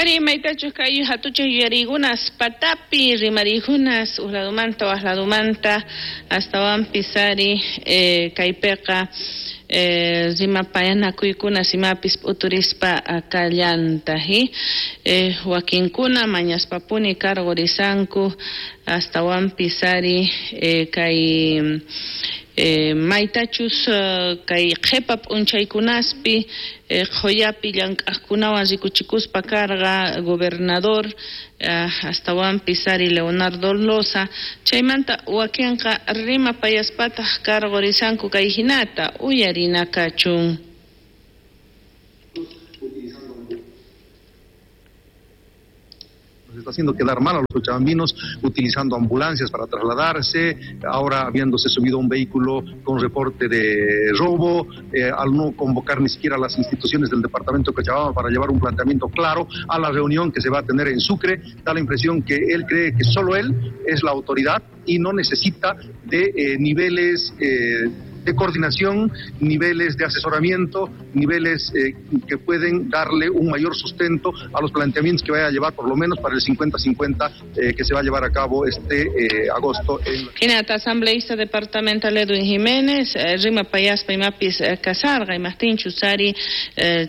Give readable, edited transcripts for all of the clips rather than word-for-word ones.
Ari maytachus kay hatuchaq yuyariykunas patapi rimariykunas uj ladumanta waj ladumanta astawanpis ari kaypiqa rimapayanakuykunas imapis p'uturispa kallantaq wakinkuna mañaspapuni karqurisanku astawanpis ari kay maytachus kay qhipa p'unchaykunaspi qhuyapi llank'aqkunawan rikuchikuspa karqa gobernador astawanpis ari Leonardo Loza chaymanta wakinqa rimapayaspataq karqurisanku kay hinata uyarina kachun. Nos está haciendo quedar mal a los cochabambinos utilizando ambulancias para trasladarse, ahora habiéndose subido a un vehículo con reporte de robo, al no convocar ni siquiera a las instituciones del departamento de Cochabamba para llevar un planteamiento claro a la reunión que se va a tener en Sucre, da la impresión que él cree que solo él es la autoridad y no necesita de niveles de coordinación, niveles de asesoramiento, niveles que pueden darle un mayor sustento a los planteamientos que vaya a llevar por lo menos para el 50-50 que se va a llevar a cabo este agosto. Hinata asambleísta departamental Edwin Jiménez, rimapayaspa imapis kasarqa, imajtinchus ari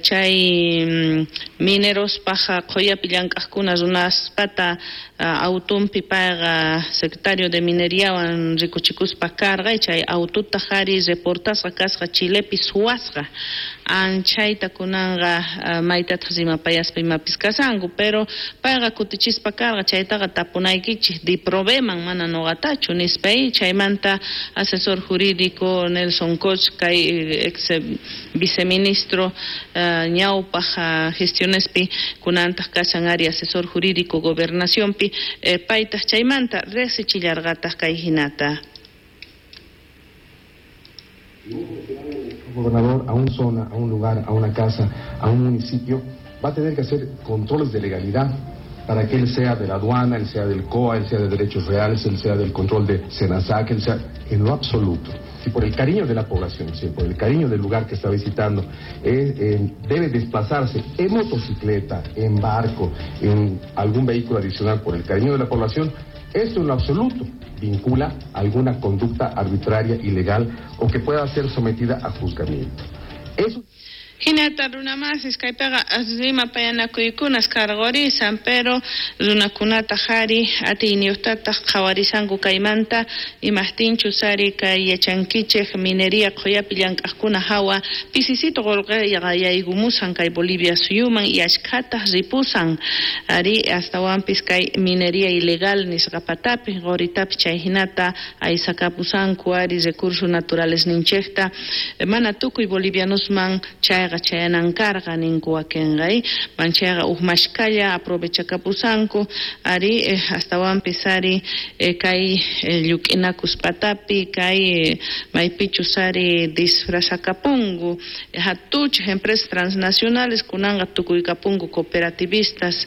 chay mineros paja qhuyapi llank'aqkuna runaspata autumpi payqa secretario de mineriawan rikuchikuspa karqa, chay aututa ari reportasqa kasqa Chilepi suwasqa anchayta kunanqa maytataq rimapayaspa imapis kasanku, pero payqa kutichispa karqa chaytaqa tapunaykichik Diproveman mana nuqatachu nispa, chaymanta asesor jurídico Nelson Koch kay ex viceministro ñawpaq gestionespi kunantaq kashan ari asesor jurídico gobernacionpi paytaq chaymanta riqsichillarqataq kay hinata. Un gobernador a una zona, a un lugar, a una casa, a un municipio, va a tener que hacer controles de legalidad para que él sea de la aduana, él sea del COA, él sea de derechos reales, él sea del control de SENASAC, él sea en lo absoluto. Si por el cariño de la población, si por el cariño del lugar que está visitando, debe desplazarse en motocicleta, en barco, en algún vehículo adicional por el cariño de la población, esto en lo absoluto vincula alguna conducta arbitraria, ilegal o que pueda ser sometida a juzgamiento. Eso. Hinata runamasis kaypiqa rimapayanakuykunas karqurisan, pero runakunata ari atiyniyuqtataq qhawarisanku kaymanta imajtinchus ari kay yachankichik minería qhuyapi llank'aqkuna hawa pisisito qullqiqa yaykumusan kay Bolivia suyuman y ashkhataq ripusan ari astawanpis kay minería ilegal nisqa patapi quritapi chay hinata aysakapusanku ari recursos naturales ninchikta mana tukuy bolivianosman chayqa chayanan karqa ninku wakinqa manchayqa uj mashkalla aprovechakapusanku ari astawanpis ari kay lluk'inakus patapi kay maypichus ari disfrazakapunku hatuchej empresas transnacionales kunanqa tukuykapunku cooperativistas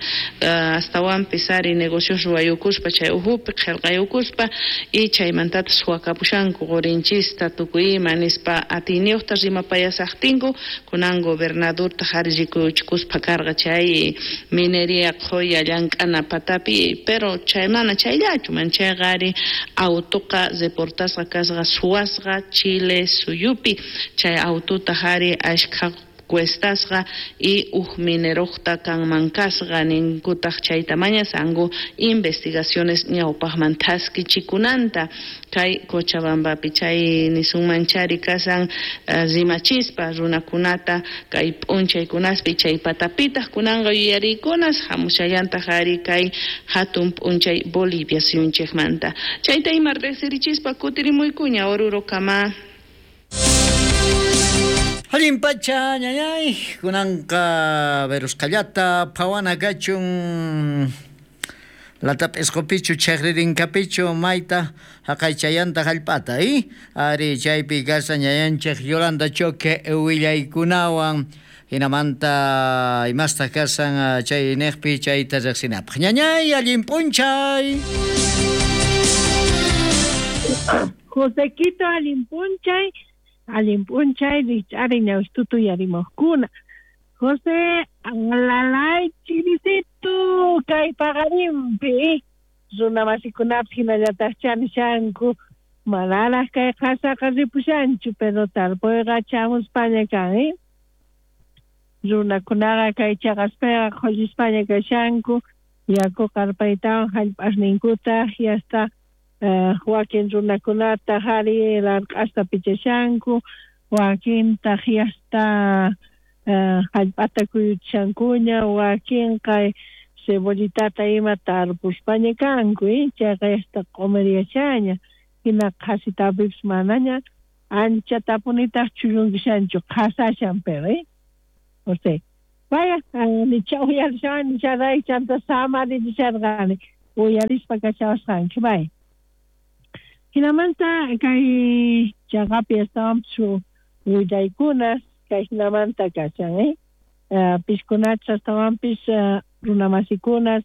astawanpis ari negocios ruwayukuspa chay ujupi qhillqayukuspa y chaymantataq suwakapushanku qurinchista tukuy ima nispa atiyniyuqta rimapayasaqtinku kunan gobernadorta ari rikuchikuspa karqa chay minería qhuya llank'ana patapi, pero chay mana chayllachu manchayqa ari autoqa reportasqa kasqa suwasqa Chile suyupi chay autota ari ashkha cuestasqa y uj mineroqta kanman kasqa ninkutaq chayta mañasanku investigaciones ñawpaqman thaskichikunanta kay Cochabambapi chay nisunman chari kasan rimachispa runakunata kay p'unchaykunaspi chay patapitaq kunanqa yuyariykunas hamushallantaq ari kay hatun p'unchay Bolivia suyunchikmanta chayta ima riqsirichispa kutirimuykuña Oruro kama. Allin pacha ñañay kunanqa verusqallata phawana kachun latap'isqupichu chaqririnkapichu mayta haqaychayanta hallp'ata ari chaypi kasa ñañanchik Yolanda Choque willaykunawan hinamanta imastaq kasan chay niqpi chayta riqsinapaq ñañay allin p'unchay. Josequito allin p'unchay. Allin p'unchay rich'ari ñawishtutu yarimojkuna José alalay chirisito. Paqarinpi runamasikunapis hinallataq chanishanku manaraq kay qasaqa ripushanchu, pero tarpuyqa chamuspaña kan, runakunaqa kay chaqaspiqa qhullispaña kashanku yaku qarpaytawan hallp'asninkuta yasta wakin runakunata hari larq'asta pichashanku, wakintaq yasta hallp'ata kuyuchishankuña, wakinqa cebollitata ima tarpuspaña kanku, chayqa yasta q'umiryashaña, hina qhasitapipis manaña anchatapunitaq chullunkishanchu, qhasashan pero, José. Vaya, nicha uyarishan, nicha chanta samarisharqani, uyarispa kachawasqanki, vaya. Hinamanta kay chaqapi astawanpis willaykunas kay hinamanta kashan, piskunachus astawanpis runamasikunas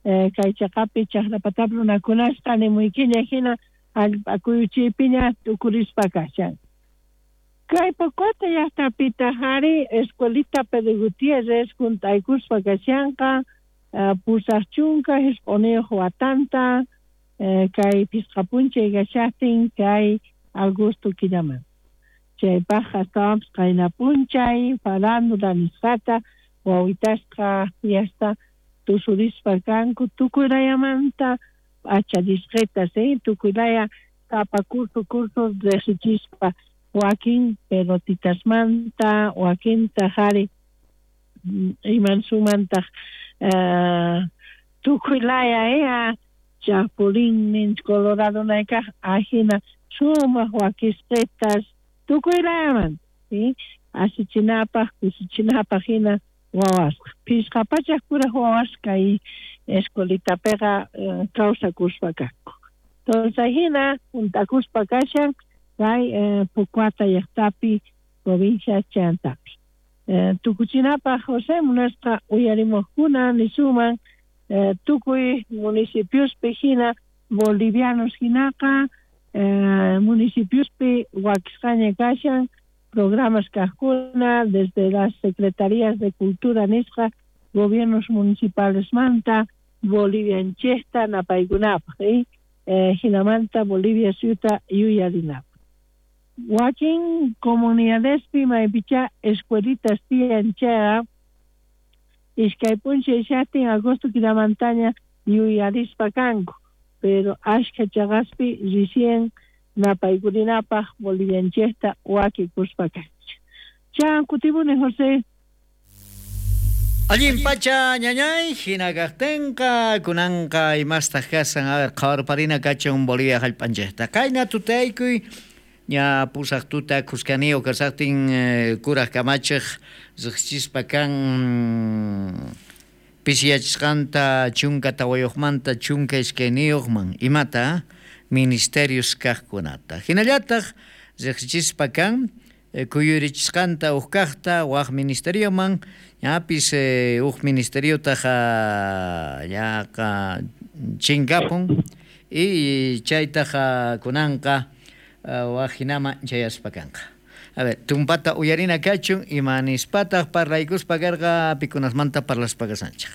kay chaqapi chaqrapatapi runakunasqa nimuykiña hina hallp'a kuyuchiypiña tukurispa kashan. Kay Pocota llaqtapitaq ari escuelita Pedro Gutiérrez junt'aykuspa kashanqa 89 watanta kay phisqa p'unchay kashaqtin kay agosto killamanta. Chaypaq astawanpis qayna p'unchay farándula nisqata wawitasqa yasta tusurispa kanku tukuy layamanta p'achallisqitas, tukuy laya sapa curso curso riqsichispa, wakin pelotitasmanta, wakintaq ari imansumantaq tukuy laya chapulín colorado naykaq ajina sumaq wakisqitas tukuy layamanta, asichinapaq kusichinapaq hina wawasqa. 500 kuraq wawas kay escuelitapiqa kawsakuspa kanku. Entonces hina junt'akuspa kashan kay Pocoata llaqtapi provincia Chantapi. Tukuchinapaq José munasqa uyarimuqkuna nisuman tukuy municipiospi hina bolivianos hinaqa municipiospi wakisqaña kashan programas kaqkuna desde las secretarías de cultura nisqa gobiernos municipales manta Bolivianchejta napaykunapaq, hinamanta Bolivia suyuta yuyarinapaq. Wakin comunidadespi maypicha escuelitas tiyan chayqa iskay p'unchay shaqtin agosto killamantaña yuyarispa kanku, pero ashkha chaqaspi recién napaykurinapaq Bolivianchejta wakikuspa kanchik. Chan kutipuni José. Allin pacha ñañay, hina kaqtinqa kunanqa imastaq kasan, a ver, qhawarparina kachun Bolivia hallp'anchikta. Qayna tutaykuy ña pusaq tuta khuskaniyuq kasaqtin kuraq kamachiq riqsichispa kan pisiyachisqanta 14manta 12man imata ministerios kaqkunata. Hinallataq riqsichispa kan kuyurichisqanta uj kaqta waq ministerioman, ñapis uj ministeriotaq yaqa chinkapun y chaytaq kunanqa waq hinaman chayaspa kanqa. A ver, tumpata uyarina kachun ima nispataq parlaykuspa karqa pikunasmanta parlaspa kasanchik.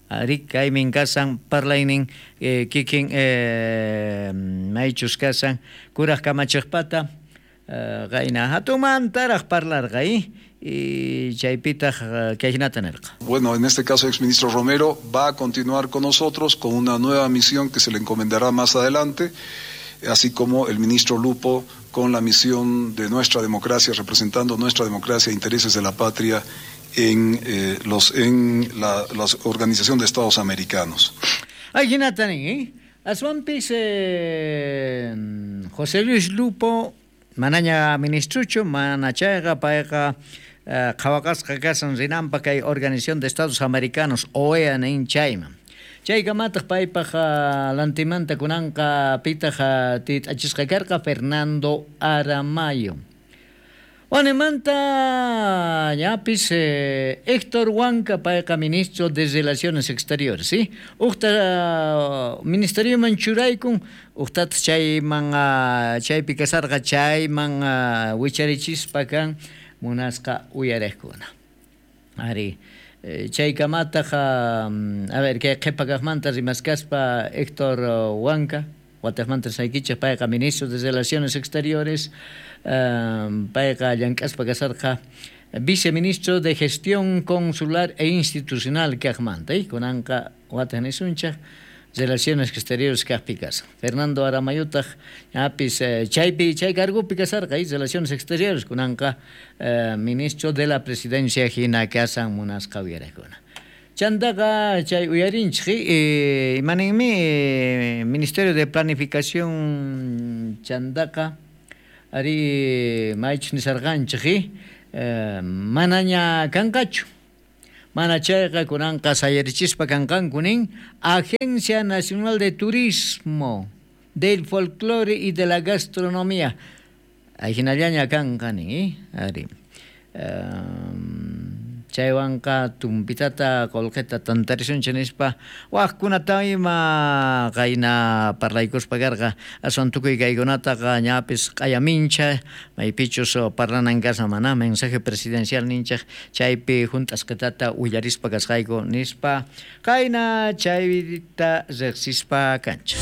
Ari kaymin kasan parlaynin kikin maychus kasan kuraq kamachiqpata qayna hatumantaraq parlarqa y chaypitaq kay hinata nirqa. Bueno, en este caso el exministro Romero va a continuar con nosotros con una nueva misión que se le encomendará más adelante, así como el ministro Lupo con la misión de nuestra democracia, representando nuestra democracia e intereses de la patria en la Organización de Estados Americanos. Ay, hinata nin, Aswanpis José Luis Lupo manaña ministruchu, mana chayqa payqa qhawaqasqa kasan rinanpaq kay Organización de Estados Americanos OEA nin chayman. Chaykamataq paypaq lantimanta kunanqa pitaq tit'achisqa karqa Fernando Aramayo. Wanemanta ñapis Héctor Huanca payqa ministro de Relaciones Exteriores, ¿sí? Uqta ministerioman churaykun, uqtataq chayman chaypi kasarqa chayman wicharichispa kan munasqa uyariqkuna. Ari chaykamataq a ver kay qhipa kaqmanta rimaskaspa Héctor Huanca wataqmanta saykichik payqa ministro de Relaciones Exteriores payqa llank'aspa kasarqa viceministro de Gestión Consular e Institucional kaqmanta kunanqa wataq nisunchik Relaciones Exteriores kaqpi kasan. Fernando Aramayutaq ñapis chaypi chay cargopi kasarqa Relaciones Exteriores kunanqa ministro de la Presidencia hina kasan munasqa uyarakuna. Chantaqa chay uyarinchik imaninmi Ministerio de Planificación chantaqa ari maychus nisarqanchik manaña kanqachu. Mana chayqa kunanqa sayarichispa kanqanku nin Agencia Nacional de Turismo, del Folclore y de la Gastronomía. Ahinallaña kanqa nin, ari. Chaywanqa tumpitata qullqita tantarisunchik nispa waqkunata ima qayna parlaykuspa karqa aswan tukuy kaykunataqa ñapis q'ayamincha maypichus parlanan kasa mana mensaje presidencial ninchik chaypi hunt'asqitata willarispa kasqayku nispa qayna chayta riqsispa kanchik.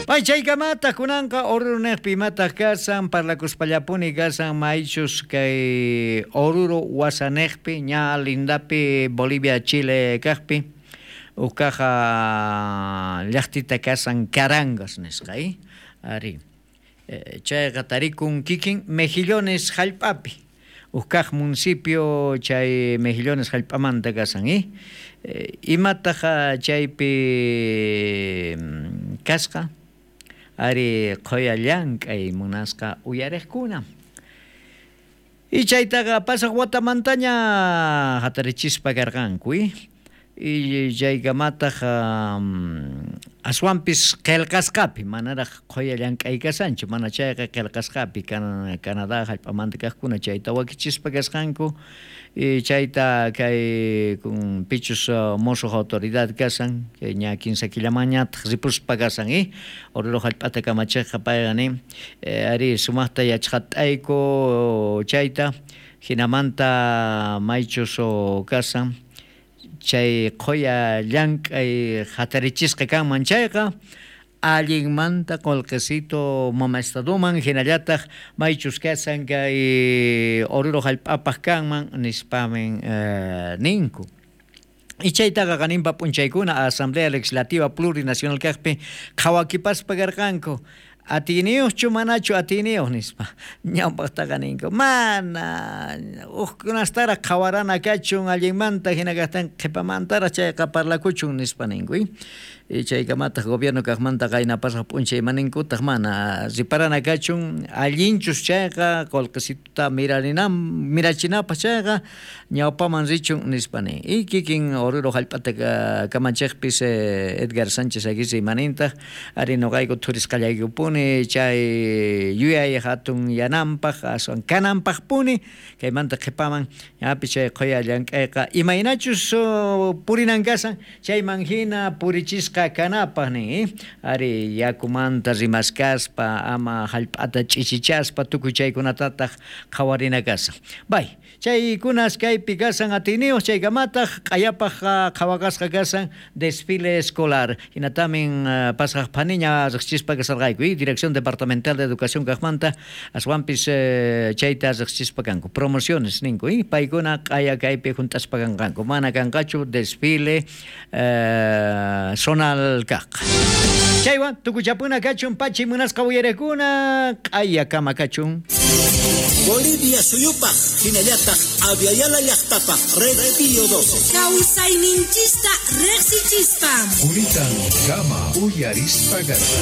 Ay, chaykamataq kunanqa Oruro niqpi imataq kasan parlakuspallapuni kasan maychus kay Oruro wasaniqpi ña lindapi Bolivia Chile kaqpi uqkaqa llaqtita kasan Carangas nisqa ari chayqa tarikun kikin Mejillones hallp'api uqkaq municipio chay Mejillones hallp'amanta kasan imataq chaypi kasqa ari qhuya llank'ay munasqa uyariqkuna. Y chaytaqa pasaq watamantaña hatarichispa karqanku y chaykamataq aswanpis qillqasqapi manaraq qhuya llank'ay kasanchu mana chayqa qillqasqapi Canadá hallp'amanta kaqkuna chayta wakichispa kasqanku y chayta kay kun pichus musuq autoridad kasan kay ña 15 killamañataq ripuspa kasan Oruro hallp'ata kamachiqqa payqa nin ari sumaqta yachqat'ayku chayta hinamanta maychus kasan chay qhuya llank'ay hatarichisqa kanman chayqa allinmanta qullqisito mama estaduman hinallataq maychus kasan kay Oruro hallp'apaq kanman nispamin ninku. Y chaytaqa qaninpa p'unchaykuna Asamblea Legislativa Plurinacional kaqpi qhawakipaspa karqanku atiniyuqchu manachu atiniyuq nispa ñawpaqtaqa ninku mana uqkunastaraq qhawarana kachun allinmanta hina kaqtin qhipamantaraq chayqa parlakuchun nispa ninku y chaykamataq gobierno kaqmanta qayna pasaq p'unchay imaninkutaq mana riparana kachun allinchus chayqa qullqisituta mirachinapaq chayqa ñawpaman richun nispa nin y kikin Oruro hallp'ata kamachiqpis Edgar Sánchez Aguirre imanintaq ari nuqayku thurisqallaykupuni chay yuyay hatun yananpaq aswan kananpaqpuni kaymanta qhipaman ñapis chay qhuya llank'ayqa imaynachus purinan kasan chayman hina purichisqa kanapaq nin ari yakumanta rimaskaspa ama hallp'ata ch'ichichaspa tukuy chaykunatataq qhawarina kasan. Bay chaykunas kaypi kasan atiniyuq chaykamataq q'ayapaq qhawakasqa kasan desfile escolar hinatamin pasaq phaniña riqsichispa kasarqayku Dirección Departamental de Educación kaqmanta aswanpis chayta riqsichispa kanku promociones ninku paykuna q'aya kaypi hunt'aspa kanqanku mana kanqachu desfile zonal kaq. Chaywan tukuchapuna kachun pachi munasqa uyarakuna q'aya kama kachun. Bolivia suyupaq hinallataq Aviala llaqtapaq Red Pío 12. Kawsayninchista riqsichispa. Quritan kama uyarispa karqa.